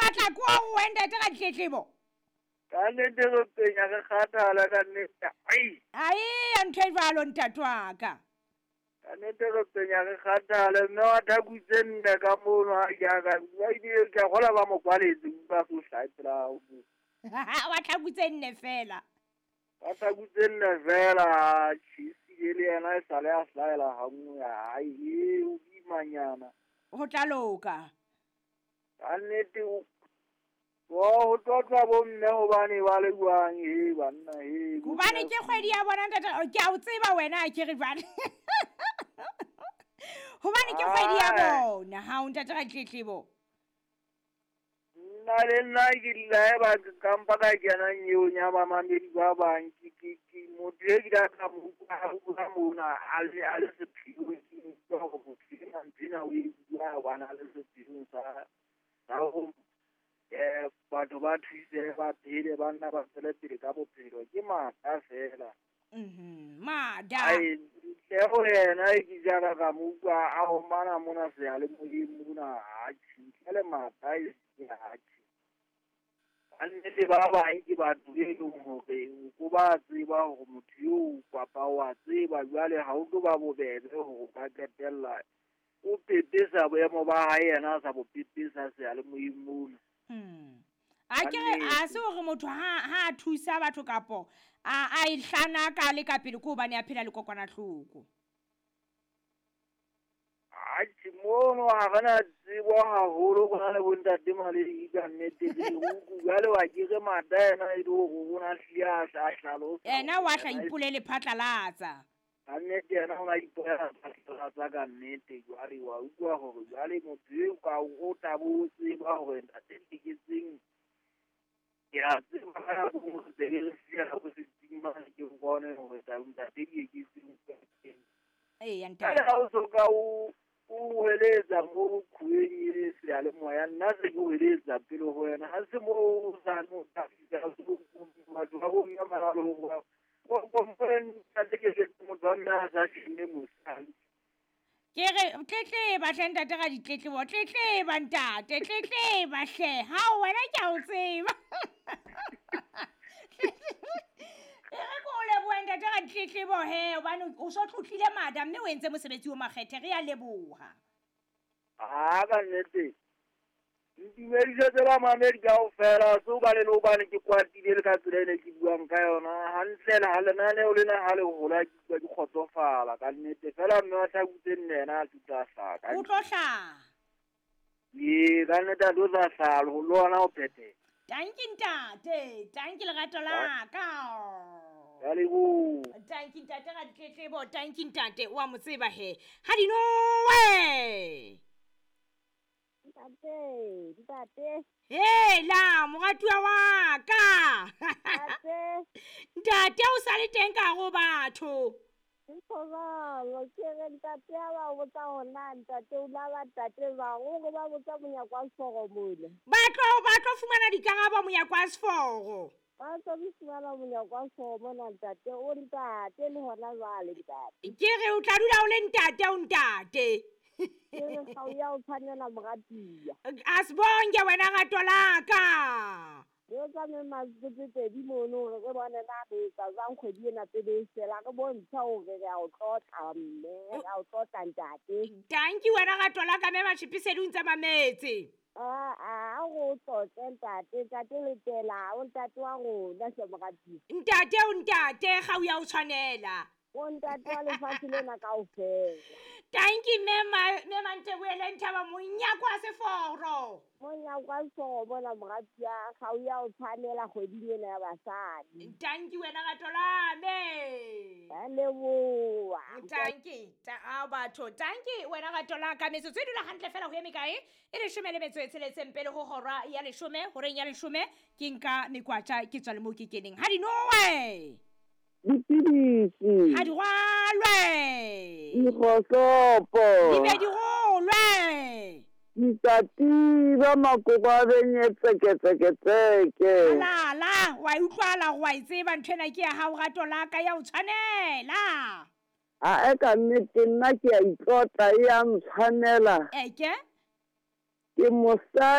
batla ko ho ntate ka ditletlebo. Ka nnete re penya re kgathala ka nnete. Ai. Ai, ya ntho e jwalo ntate wa ka. Ka nnete re penya re kgathala mme wa thaku tse nne ka mono ha ke a ka ba ile ke a kgola ba mo kwaletse utlwa so hlae pela hao. Wa thaku tse nne fela. Wa thaku tse nne fela tjhisi le yena e sale a hlahela ha nngwe ai e o imanyana. Ho tla loka. Ka nnete o ho tlotla bomme hobane ba le jwang he banna he. Hobane ke kgwedi ya bona ntate, ke a o tseba wena a ke re jwale. Hobane ke kgwedi ya bona, ha o ntate ka tletlebo. Nna le nna ke dula eba ka mpa ka kena nyeong ya bamamedi ba bang ke motho e ke ka ka mo utlwa bua mona a le sephiong ke utlwa hore motho enwa nthwena o e bua hobane a le sephiong sa ho batho ba thuse ba phele ba nna ba tswele pele ka bophelo ke mata fela. Mada. Ai ntle ho yena e ke jara ka mo utlwa a homana mona seyalemoyeng mona atjhe ntle le mata e se atjhe. Ka nnete ba bang ke batho e leng hore o ba tseba hore motho eo kapa wa tseba jwale ha o tlo ba bobebe hore o ka qetella o pepesa boemo ba hae yena a sa bo pepesa seyalemoyeng mona. A ke re a se hore motho ha a thusa batho kapo a e hlana ka le ka pele ko hobane a phela le kokwanahloko. Atjhe mono ha re na tsebo haholo rona le bontate Maledi ka nnete re utlwa jwale wa ke re mata yena e le hore o na hlile a hlalosa. Yena wa hla ipolele phatlalatsa. Ka nnete yena o na ipolela phatlalatsa ka nnete jwale wa utlwa hore jwale motho eo ka o tla bo tseba hore ntate Nteketseng ke a tseba ka nako e nngwe re re siya ko setsing mane ke bone hore ntate Dieketseng o teng. Eya ntate. Jwale ha o so ka o hweletsa mo khueng e seyalemoya nna se ke hweletsa pele ho wena ha se mo o sa no tla fihla batho ba bomme ba le hore Ke re tletleba hle ntate ka ditletlebo, tletleba ntate, tletleba hle. Ha wena ke a o tseba. E re ko o lebohe ntate ka ditletlebo he, hobane o so tlotlile mada mme o entse mosebetsi o makgethe, re a leboha. Ha ka nnete. Ntumedisetse bamamedi kaofela se hobane le hobane ke kwatile le ka tsela ene ke buang ka yona hantle le ha lenaneo lena ha le hola ke utlwa ke kgotsofala ka nnete fela mme wa thaku tse nne yena a tlo hlaha ka O tlo hlaha. Ee, ka nnete a tlo tla hlaha le ona o phethela. Tanki ntate, tanki lerato la ka. Ka leboha. Tanki ntate ka ditletlebo, tanki ntate wa mo tseba he. Ha di nowe. Ntate, ntate. Hela, moratuwa wa ka. Ntate. Ntate o sa le teng ka hare ho batho. Nthobalo, ke re ntate a ba botsa hore na ntate o la ba ntate ba hore ba botsa monyako wa seforo mona. Ba tlo fumana dikarabo monyako wa seforo. Ba tlo fumana monyako wa seforo mona ntate, o ntate le hona jwale ntate. Ke re o tla dula o le ntate o ntate. Ke re ga o ya o tshwanela moratuwa. A se bonke wena rato la ka. Re tsamaye matsatsi pedi mono hore re bone na re etsa jwang kgwedi ena pele e fela, re bontsha hore re a o tlotla mme, re a o tlotla ntate. Tanki wena rato la ka mme Matjhipisedi o ntse mametse. A go tlotle ntate, ntate Letela, o ntate wa rona hle moratuwa. Ntate o ntate ga o ya o tshwanela. O ntate wa lefatshe lena kaofela. Tanki mme Manteboele Nthaba monyako wa seforo. Monyako wa seforo bona moratuwa ga o ya o tshwanela kgweding ena ya basadi. Tanki wena rato la me. Ka leboha. Tanki a batho, tanki wena rato la ka metsotso e dula hantle fela ho eme kae? E leshome le metso e tsheletseng pele ho hora ya leshome, horeng ya leshome ke nka mekwatja ke tswa le moo ke keneng. Ha di nowe. Dipidisi. Ha di rwalwe. Dikgohlopo. Di be di rolwe. Dikatiba makoko a benye tseke tseke tseke. La la, wa utlwala wa e tseba ntho ena ke ya hao rato la ka ya o tshwanela. A e ka nnete nna ke a itlotla e ya ntshwanela. Eke? Ke mosadi.